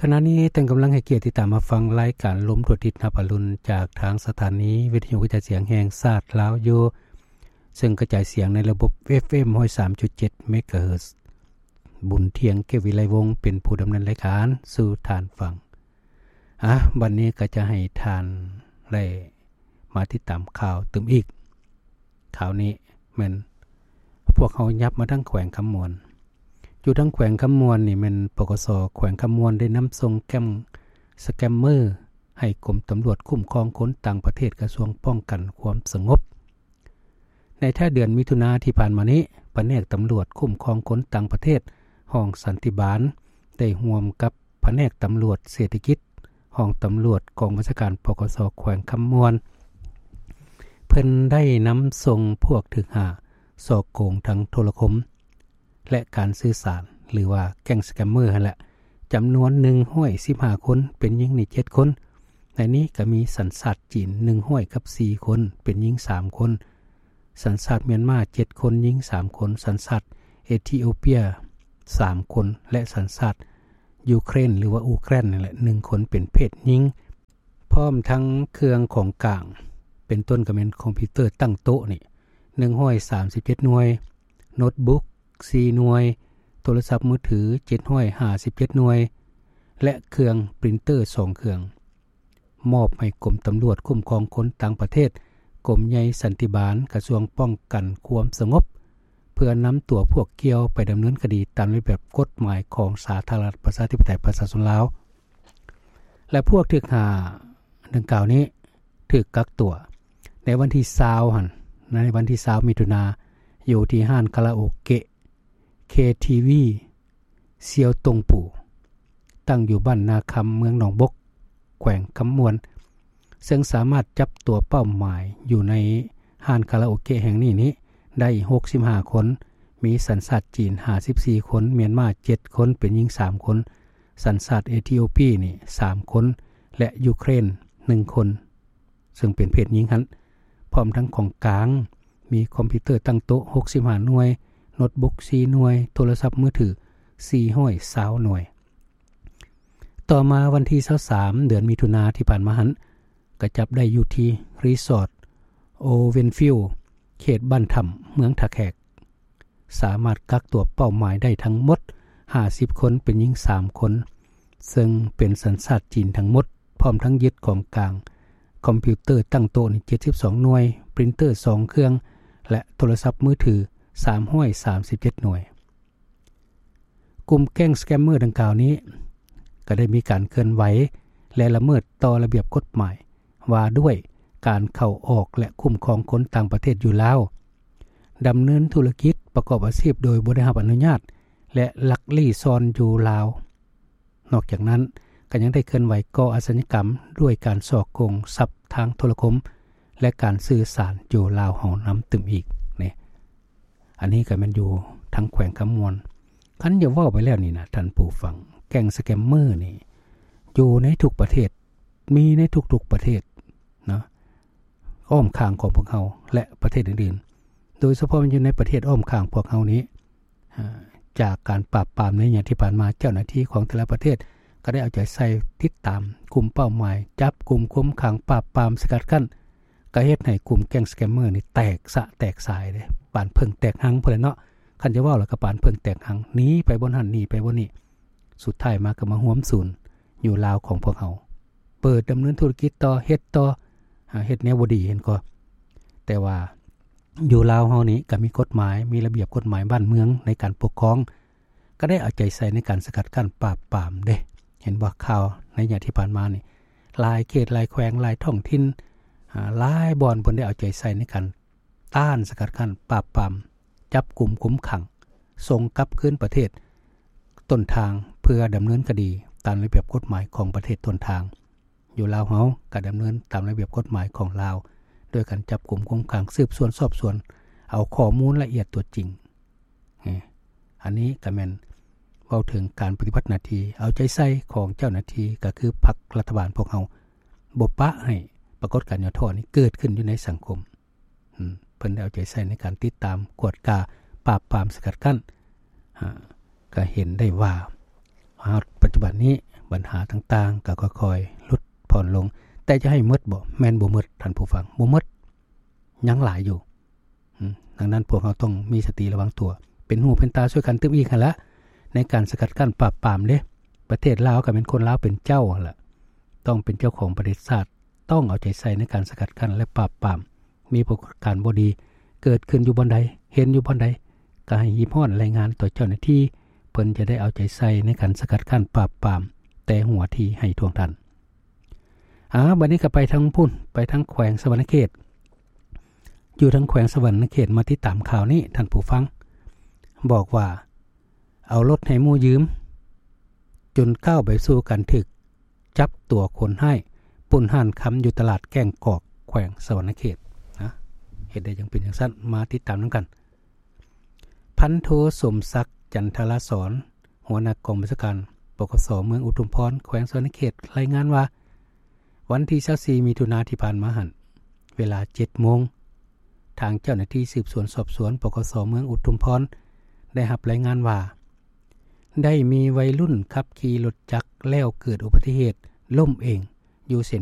ຂະນະນີ້ທ່ານກຳລັງໃຫ້ກຽດຕິດຕາມຮັບຟັງລາຍການລົມທົ່ວທິດຮັບອາລຸນ ຈາກທາງສະຖານີວິທະຍຸກະຈາຍສຽງແຫ່ງຊາດລາວຢູ່ ເຊິ່ງກະຈາຍສຽງໃນລະບົບ ເອຟເອັມ ຮ້ອຍສາມຈຸດເຈັດ ເມກາເຮີດ. ບຸນທ່ຽງ ເກດວິໄລວົງ ເປັນຜູ້ດຳເນີນລາຍການສູ່ທ່ານຟັງ. ອາ ບັດນີ້ກໍຈະໃຫ້ທ່ານໄດ້ມາຕິດຕາມຂ່າວຕື່ມອີກ. ຂ່າວນີ້ແມ່ນພວກເຮົາຫຍັບມາທາງແຂວງຄຳມ່ວນ. ຢູ່ທາງແຂວງຄຳມ່ວນນີ້ແມ່ນ ປກສ ແຂວງຄຳມ່ວນໄດ້ນຳສົ່ງແກ້ງສະແກມເມີໃຫ້ກົມຕຳຫຼວດຄຸ້ມຄອງຄົນຕ່າງປະເທດ ກະຊວງປ້ອງກັນຄວາມສະຫງົບ. ໃນທ້າຍເດືອນມິຖຸນາທີ່ຜ່ານມານີ້ ພະແນກຕຳຫຼວດຄຸ້ມຄອງຄົນຕ່າງປະເທດ ຫ້ອງສັນຕິບານ ໄດ້ຮ່ວມກັບພະແນກຕຳຫຼວດເສດຖະກິດ ຫ້ອງຕຳຫຼວດກອງບັນຊາການ ປກສ ແຂວງຄຳມ່ວນ ເພິ່ນໄດ້ນຳສົ່ງພວກຖືກຫາສໍ້ໂກງທາງໂທລະຄົມ ແລະ ການສື່ສານ ຫຼືວ່າແກ້ງສະແກມເມີຫັ້ນແຫຼະ ຈຳນວນໜຶ່ງຮ້ອຍສິບຫ້າຄົນ ເປັນຍິງນີ້ເຈັດຄົນ. ໃນນີ້ກໍມີສັນຊາດຈີນໜຶ່ງຮ້ອຍກັບສີ່ຄົນ ເປັນຍິງສາມຄົນ, ສັນຊາດມຽນມາເຈັດຄົນ ຍິງສາມຄົນ, ສັນຊາດເອທິໂອເປຍສາມຄົນ ແລະ ສັນຊາດຢູເຄຣນ ຫຼືວ່າອູແກຣນນັ້ນແຫຼະ ໜຶ່ງຄົນ ເປັນເພດຍິງ. ພ້ອມທັງເຄື່ອງຂອງກາງ ເປັນຕົ້ນກໍແມ່ນຄອມພິວເຕີຕັ້ງໂຕະນີ້ ໜຶ່ງຮ້ອຍສາມສິບເຈັດໜ່ວຍ, ໂນດບຸກສີ່ໜ່ວຍ, ໂທລະສັບມືຖືເຈັດຮ້ອຍຫ້າສິບເຈັດໜ່ວຍ ແລະ ເຄື່ອງປຣິນເຕີສອງເຄື່ອງ ມອບໃຫ້ກົມຕຳຫຼວດຄຸ້ມຄອງຄົນຕ່າງປະເທດ ກົມໃຫຍ່ສັນຕິບານ ກະຊວງປ້ອງກັນຄວາມສະຫງົບ ເພື່ອນຳຕົວພວກກ່ຽວໄປດຳເນີນຄະດີຕາມລະບຽບກົດໝາຍຂອງສາທາລະນະລັດປະຊາທິປະໄຕປະຊາຊົນລາວ. ແລະ ພວກຖືກຫາດັ່ງກ່າວນີ້ຖືກກັກຕົວໃນວັນທີຊາວຫັ້ນ ໃນວັນທີຊາວມິຖຸນາ ຢູ່ທີ່ຮ້ານຄາຣາໂອເກະ ເຄທີວີ ຊຽວຕົງປູ ຕັ້ງຢູ່ບ້ານນາຄຳ ເມືອງໜອງບົກ ແຂວງຄຳມ່ວນ ເຊິ່ງສາມາດຈັບຕົວເປົ້າໝາຍຢູ່ໃນຮ້ານຄາຣາໂອເກະແຫ່ງນີ້ນີ້ໄດ້ຫົກສິບຫ້າຄົນ, ມີສັນຊາດຈີນຫ້າສິບສີ່ຄົນ, ມຽນມາເຈັດຄົນ ເປັນຍິງສາມຄົນ, ສັນຊາດເອທິໂອເປຍນີ້ສາມຄົນ ແລະ ຢູເຄຣນໜຶ່ງຄົນ ເຊິ່ງເປັນເພດຍິງຫັ້ນ, ພ້ອມທັງຂອງກາງ ມີຄອມພິວເຕີຕັ້ງໂຕະຫົກສິບຫ້າໜ່ວຍ, ໂນດບຸກສີ່ໜ່ວຍ, ໂທລະສັບມືຖືສີ່ຮ້ອຍຊາວໜ່ວຍ. ຕໍ່ມາວັນທີຊາວສາມ ເດືອນມິຖຸນາທີ່ຜ່ານມາຫັ້ນ ກະຈັບໄດ້ຢູ່ທີ່ຣີສອດໂອເວັນຟິວ ເຂດບ້ານຖ້ຳ ເມືອງທ່າແຂກ. ສາມາດກັກຕົວເປົ້າໝາຍໄດ້ທັງໝົດຫ້າສິບຄົນ ເປັນຍິງສາມຄົນ ເຊິ່ງເປັນສັນຊາດຈີນທັງໝົດ, ພ້ອມທັງຍຶດຂອງກາງຄອມພິວເຕີຕັ້ງໂຕະນີ້ເຈັດສິບສອງໜ່ວຍ, ປຣິນເຕີສອງເຄື່ອງ ແລະ ໂທລະສັບມືຖືສາມຮ້ອຍສາມສິບເຈັດໜ່ວຍ. ກຸ່ມແກ້ງສະແກມເມີດັ່ງກ່າວນີ້ ກໍໄດ້ມີການເຄື່ອນໄຫວ ແລະ ລະເມີດຕໍ່ລະບຽບກົດໝາຍ ວ່າດ້ວຍການເຂົ້າອອກ ແລະ ຄຸ້ມຄອງຄົນຕ່າງປະເທດຢູ່ລາວ, ດຳເນີນທຸລະກິດປະກອບອາຊີບໂດຍບໍ່ໄດ້ຮັບອະນຸຍາດ ແລະ ລັກລີ້ຊ່ອນຢູ່ລາວ. ນອກຈາກນັ້ນ ກໍຍັງໄດ້ເຄື່ອນໄຫວກໍ່ອາຊະຍາກຳດ້ວຍການສໍ້ໂກງຊັບທາງໂທລະຄົມ ແລະ ການສື່ສານຢູ່ລາວເຮົານຳຕື່ມອີກນີ້. ອັນນີ້ກໍແມ່ນຢູ່ທາງແຂວງຄຳມ່ວນ. ຄັນຈະເວົ້າໄປແລ້ວນີ້ນະ ທ່ານຜູ້ຟັງ, ແກ້ງສະແກມເມີນີ້ຢູ່ໃນທຸກປະເທດ, ມີໃນທຸກໆປະເທດເນາະ, ອ້ອມຂ້າງຂອງພວກເຮົາ ແລະ ປະເທດອື່ນໆ, ໂດຍສະເພາະຢູ່ໃນປະເທດອ້ອມຂ້າງພວກເຮົານີ້, ອາ, ຈາກການປາບປາມໃນໄລຍະທີ່ຜ່ານມາ, ເຈົ້າໜ້າທີ່ຂອງແຕ່ລະປະເທດກໍໄດ້ເອົາໃຈໃສ່ຕິດຕາມກຸ່ມເປົ້າໝາຍ, ຈັບກຸ່ມ, ຄຸມຂັງ, ປາບປາມ, ສະກັດກັ້ນ, ກໍເຮັດໃຫ້ກຸ່ມແກ້ງສະແກມເມີນີ້ແຕກສະແຕກສາຍເດ້, ປານເຜິ້ງແຕກຮັງພຸ້ນແຫຼະເນາະ. ຄັນຈະເວົ້າແລ້ວກໍປານເຜິ້ງແຕກຮັງ, ໜີໄປບ່ອນຫັ້ນ, ໜີໄປບ່ອນນີ້, ສຸດທ້າຍມາກໍມາຮວມສູນຢູ່ລາວຂອງພວກເຮົາ, ເປີດດຳເນີນທຸລະກິດຕໍ່, ເຮັດຕໍ່, ອາ, ເຮັດແນວບໍ່ດີຫັ້ນກໍ. ແຕ່ວ່າຢູ່ລາວເຮົານີ້ກໍມີກົດໝາຍ, ມີລະບຽບກົດໝາຍບ້ານເມືອງໃນການປົກຄອງ, ກໍໄດ້ເອົາໃຈໃສ່ໃນການສະກັດກັ້ນປາບປາມເດ້. ເຫັນບໍ່, ຂ່າວໃນໄລຍະທີ່ຜ່ານມານີ້ ຫຼາຍເຂດ, ຫຼາຍແຂວງ, ຫຼາຍທ້ອງຖິ່ນ, ອາ, ຫຼາຍບ່ອນເພິ່ນໄດ້ເອົາໃຈໃສ່ໃນການຕ້ານ, ສະກັດກັ້ນ, ປາບປາມ, ຈັບກຸມ, ຄຸມຂັງ, ສົ່ງກັບຄືນປະເທດຕົ້ນທາງ ເພື່ອດຳເນີນຄະດີຕາມລະບຽບກົດໝາຍຂອງປະເທດຕົ້ນທາງ. ຢູ່ລາວເຮົາກໍດຳເນີນຕາມລະບຽບກົດໝາຍຂອງລາວ ໂດຍການຈັບກຸມ, ຄຸມຂັງ, ສືບສວນ, ສອບສວນ, ເອົາຂໍ້ມູນລະອຽດຕົວຈິງ. ອັນນີ້ກໍແມ່ນເວົ້າເຖິງການປະຕິບັດໜ້າທີ່ເອົາໃຈໃສ່ຂອງເຈົ້າໜ້າທີ່, ກໍຄືພັກລັດຖະບານພວກເຮົາບໍ່ປະໃຫ້ປາກົດການຫຍໍ້ທໍ້ນີ້ເກີດຂຶ້ນຢູ່ໃນສັງຄົມ. ເພິ່ນໄດ້ເອົາໃຈໃສ່ໃນການຕິດຕາມ, ກວດກາ, ປາບປາມ, ສະກັດກັ້ນ. ກໍເຫັນໄດ້ວ່າຮອດປັດຈຸບັນນີ້ ບັນຫາຕ່າງໆກໍຄ່ອຍໆຫຼຸດຜ່ອນລົງ. ແຕ່ຈະໃຫ້ໝົດບໍ່? ແມ່ນບໍ່ໝົດທ່ານຜູ້ຟັງ, ບໍ່ໝົດ, ຍັງຫຼາຍຢູ່. ອືມ ດັ່ງນັ້ນພວກເຮົາຕ້ອງມີສະຕິລະວັງຕົວ ເປັນຫູເປັນຕາຊ່ວຍກັນຕື່ມອີກຫັ້ນລະ ໃນການສະກັດກັ້ນປາບປາມເດ້. ປະເທດລາວກໍແມ່ນຄົນລາວເປັນເຈົ້າຫັ້ນລະ ຕ້ອງເປັນເຈົ້າຂອງປະເທດຊາດ, ຕ້ອງເອົາໃຈໃສ່ໃນການສະກັດກັ້ນ ແລະ ປາບປາມ. ມີປາກະການບໍ່ດີເກີດຂຶ້ນຢູ່ບ່ອນໃດ, ເຫັນຢູ່ບ່ອນໃດ, ກໍໃຫ້ຮີບຮ້ອນລາຍງານຕໍ່ເຈົ້າໜ້າທີ່, ເພິ່ນຈະໄດ້ເອົາໃຈໃສ່ໃນການສະກັດກັ້ນປາບປາມ ແຕ່ຫົວທີໃຫ້ທ່ວງທັນ. ອາ ບັດນີ້ກໍໄປທາງພຸ້ນ, ໄປທາງແຂວງສະຫວັນນະເຂດ. ຢູ່ທາງແຂວງສະຫວັນນະເຂດ ມາຕິດຕາມຂ່າວນີ້ທ່ານຜູ້ຟັງ, ບອກວ່າເອົາລົດໃຫ້ໝູ່ຢືມ ຈົນກ້າວໄປສູ່ການຖືກຈັບຕົວຄົນຮ້າຍປຸ້ນຮ້ານຄຳຢູ່ຕະຫຼາດແກ້ງກອກ ແຂວງສະຫວັນນະເຂດ. ນະ ເຮັດໄດ້ຈັ່ງເປັນຈັ່ງຊັ້ນ? ມາຕິດຕາມນຳກັນ. ພັນໂທ ສົມສັກ ຈັນທະລາສອນ ຫົວໜ້າກອງບັນຊາການ ປກສ ເມືອງອຸທຸມພອນ ແຂວງສະຫວັນນະເຂດ ລາຍງານວ່າ ວັນທີຊາວສີ່ ມິຖຸນາທີ່ຜ່ານມາຫັ້ນ ເວລາເຈັດໂມງ ທາງເຈົ້າໜ້າທີ່ສືບສວນສອບສວນ ປກສ ເມືອງອຸທຸມພອນ ໄດ້ຮັບລາຍງານວ່າ ໄດ້ມີໄວລຸ້ນຂັບຂີ່ລົດຈັກແລ້ວເກີດອຸບັດຕິເຫດລົ້ມເອງຢູ່ເສັ້ນ